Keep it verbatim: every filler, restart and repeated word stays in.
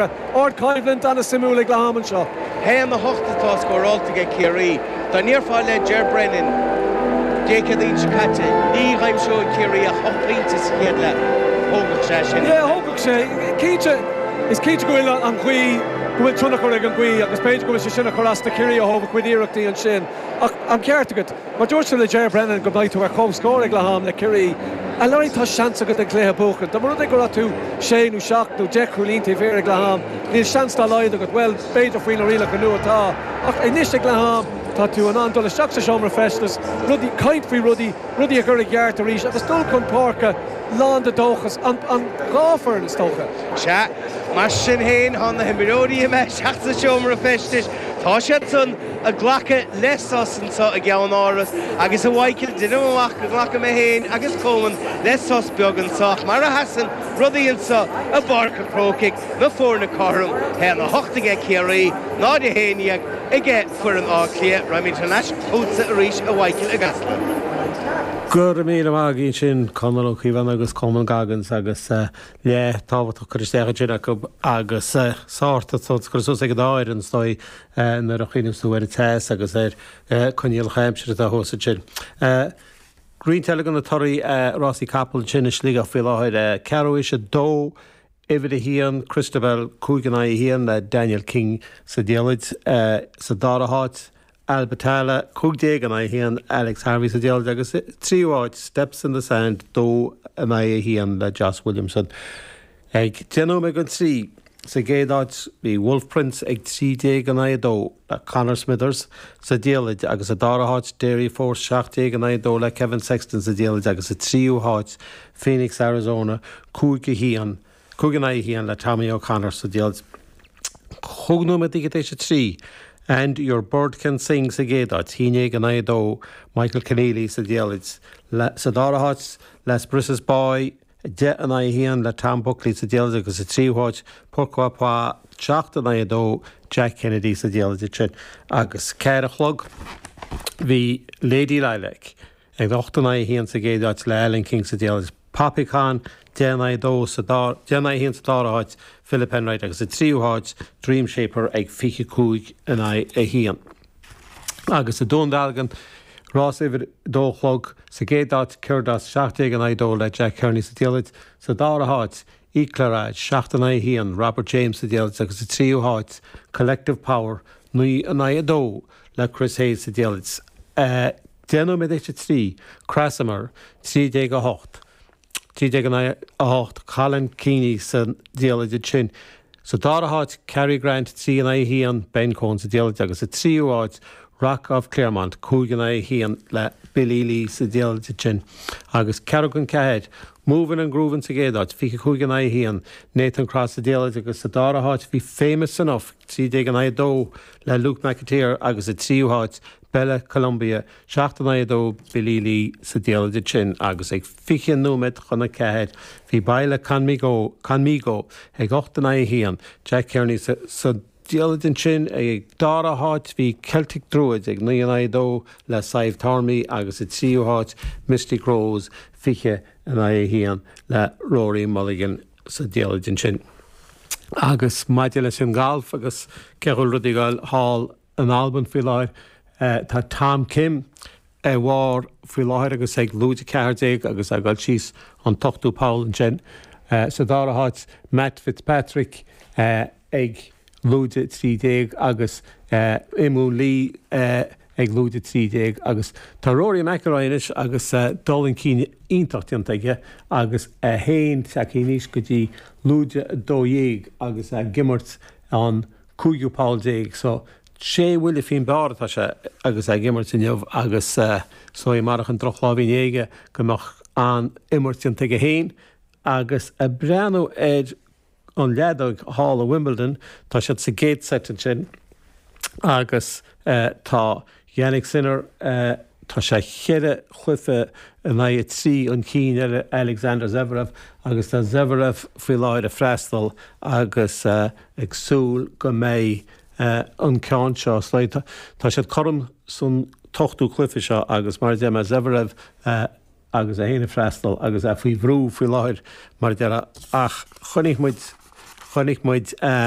páirce. Ardchoimhlint an-suimiúil ag leath ama anseo. Haon a hocht atá scóráilte ag Ciarraí. Dá ndéarfá le Ger Brennan Dé Céadaoin seo caite ní aimseoidh Ciarraí ach ocht bpointe sa chéad leath. Thógfadh sé sin. Yeah, thógfadh sé cinnte is cinnte go bhfuil an ghaoth go bhfuil tionchar ag an ghaoth agus b'fhéidir go bhfuil sé sin ag cur as do Chiarraí ó thaobh a gcuid iarrachtaí ansin. Ach an ceart agat, mar dúirt le Ger Brennan go mbeidh tú ar comhscór ag leath ama le Ciarraí. A Larry tá seans agat an cluiche a bhuachan. Tá mar rud go raibh tú sé nó seacht nó deich gcúilín taobh thiar ag leath ama, níl seans dá laghad agat well b'fhéidir faoi na rialacha nua atá ach anois ag leath ama tá tú in ann dul isteach sa seomra feistis, rudaí caint faoi rudaí, rudaí a chur i gceart arís agus dul chun páirce lán de dóchas an, an dhá fhoireann is dócha. Sea, mar sin féin tá na himreoirí imithe isteach sa seomra feistis, Tá siad san ag glacadh le sos anseo i gceannáras agus a Mhichael déanaim amach go nglacfaidh mé féin agus Coleman le sos beag anseo mar a sheasann rudaí anseo i bPáirc an Chrócaigh na foirne cothrom haon a hocht aige Ciarraí náid a haon déag aige foireann Átha Cliath raghaimid thar n-ais chugatsa arís a Mhichael i gCasla. Go raibh míle maith agat sin Conor Ó Cíobháin agus Coleman Goggins agus uh, le tábhachtach chur isteach sin acu agus uh, sort chur suas ag an áir an stoi nuair a chuimhníonn tú ar an teas agus ar choinníollacha aimsire atá thuas sin. Roinnt eile de na torthaí rásaí capall sin i Sligeach faoi láthair ceathrú théis a dó uimhir a haon Christabel cúig in aghaidh a haon le Daniel King sa diallait sa dara háit Albatala cúig déag in aghaidh a haon Alex Harvey sa diallait agus tríú háit Steps in the Sand dó in aghaidh a haon le Joss Williamson. Ag déanú ag an trí sa gcéad áit bhí Wolf Prince ag trí déag in aghaidh a dó le Conor Smithers sa diallait agus sa dara háit Dairy Force seacht déag in aghaidh a dó le Kevin Sexton sa diallait agus sa tríú háit Phoenix Arizona cúig a haon cúig in aghaidh a haon le Tommy O'Connor sa diallait. Cúig nóiméad théis a trí. And your bird can sing sa gcéad áit, haon déag in aghaidh a dó Michael Keneally sa diallait. Sa dara háit Les Brisses Boy deich in aghaidh a haon le Tom Buckley sa diallait agus sa tríú háit Pourquoi pas seacht in aghaidh a dó Jack Kennedy sa diallait sin agus ceathair a chlog bhí Lady Lilac ag ocht in aghaidh a haon sa gcéad áit le Alan King sa diallait. Poppycon deich in aghaidh a dó sa deich in aghaidh a haon sa dara háit Philip Enright agus sa tríú háit Dream Shaper ag fiche cúig in aghaidh a haon. Agus i Dún Dealgan rás uimhir dó a chlog sa gcéad áit Curdas seacht déag in aghaidh a dó le Jack Kearney sa diallait sa dara háit Eclarage seacht in aghaidh a haon Robert James sa diallait agus sa tríú háit Collective Power naoi in aghaidh a dó le Chris Hayes sa diallait. Uh, Deich nóiméad théis a trí Krasimir trí déag a hocht. Trí déag a hocht Colin Keaney sa diallait sin. Sa dara háit Cary Grant trí in aghaidh a haon Ben Coen sa diallait agus sa tríú háit Rock of Claremont cúig in aghaidh a haon le Billy Lee sa diallait sin. Agus ceathrú chun ceathair, Moving and Grooving sa gcéad áit, fiche cúig in aghaidh a haon, Nathan Cross sa diallait agus sa dara háit bhí Famous Enough trí déag in aghaidh a dó le Luke McAteer agus sa tríú háit Bella Columbia seacht in aghaidh a dó Billy Lee sa diallait sin agus ag fiche nóiméad chun a ceathair bhí Baile Conmigo Conmigo ag ocht in aghaidh a haon Jack Kearney sa, sa diallait sin ag dara háit bhí Celtic Druid ag naoi in aghaidh a dó le Sadhbh Tormey agus sa tríú háit Mystic Rose fiche in aghaidh a haon le Rory Mulligan sa diallait sin. Agus maidir leis an galf agus cé bhfuil rudaí ag dul thall in Albain faoi láthair uh, tá Tom Kim ar bharr faoi láthair agus ag lúide ceathair déag agus ag dul síos an t-ochtú poll ansin. Uh, sa dara háit Matt Fitzpatrick uh, ag lúide trí déag agus uh, Imún Lee uh, ag lúide trí déag agus tá Rory McIlroy anois agus uh, dul chun cinn iontach déanta aige agus a haon tagtha go dtí lúide dó dhéag agus ag imirt an cúigiú poll déag so sé bhuille faoin bpar atá sé agus ag imirt inniu agus uh, so i marach an drochlá bhí aige go mbeadh an imirt déanta aige féin agus ag breathnú ar an leadóg thall i Wimbledon tá siad sa gcéad set sin agus uh, tá Jannik Sinner uh, tá sé cheithre chluiche in aghaidh trí chun cinn ar Alexander Zverev agus tá Zverev faoi láthair ag freastal agus uh, ag súil go mbeidh uh, an ceann seo sléite. Tá siad cothrom san t-ochtú cluiche seo agus mar de Zverev uh, agus é ag freastal agus é faoi bhrú faoi láthair mar deire ach chonaic muid chonaic muid um,